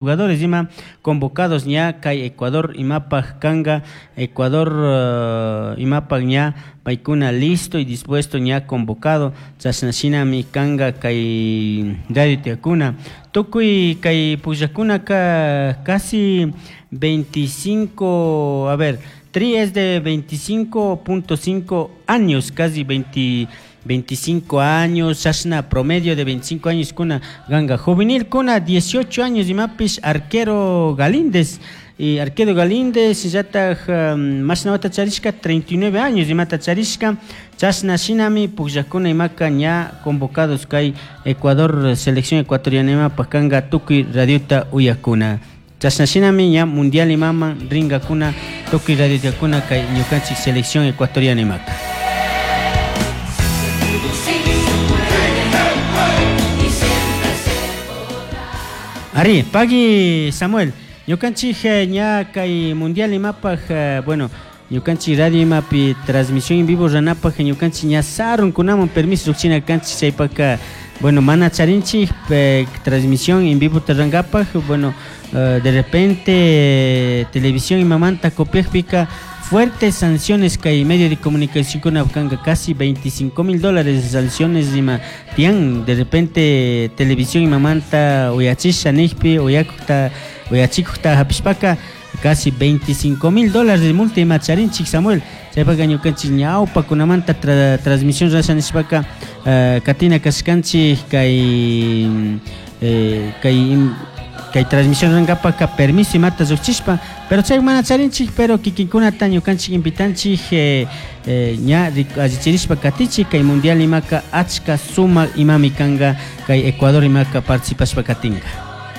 Jugadores ima convocados ña kay Ecuador imapaj kanga Ecuador imapaj ña paykuna listo y dispuesto ña convocado chashna shinami kanga kay radio tiyakuna tukuy kay pullakunaka casi 25, a ver, Tri es de 25.5 años, casi 20 25 años, chashna promedio de 25 años kuna ganga juvenil kuna 18 años imapish arquero Galíndez y arquero Galíndez yataj mashna wata charishka 39 años imata charishka chashna shinami pugllakuna imaka ña convocados kay Ecuador selección ecuatoriana imapaj kanga tukuy radiota uyakuna chashna shinami ña mundial imaman ringakuna tukuy radiokuna kay ñukanchik selección ecuatoriana imaka. Ari, pagui Samuel, ñukanchik ña kay mundial imapaj, bueno, ñukanchik radio imapi transmisión en vivo ranapaj ñukanchik ña sarunkunaman permiso lluqchina kanchik chaypaka, bueno, mana charinchik transmisión en vivo tarrankapaj, bueno, de repente televisión imamanta copiajpika fuertes sanciones kay medio de comunicación kuna kanga casi 25 mil dólares sanciones ima tian de repente televisión imamanta uyachisha nijpi uyakukta uyachikukta hapishpaka casi 25 mil dólares de multa ima charinchik Samuel chaypaka ñukanchik ñawpakunamanta transmisión rasha nishpaka katina kashkanchik kay kay kay transmisión rankapaka permiso imata lluqchishpa pero chay mana charinchik pero kikinkunata ñukanchik invitanchik ña allichirishpa katichik kay mundial imaka achka sumak imami kanga kay Ecuador imaka participashpa katinka.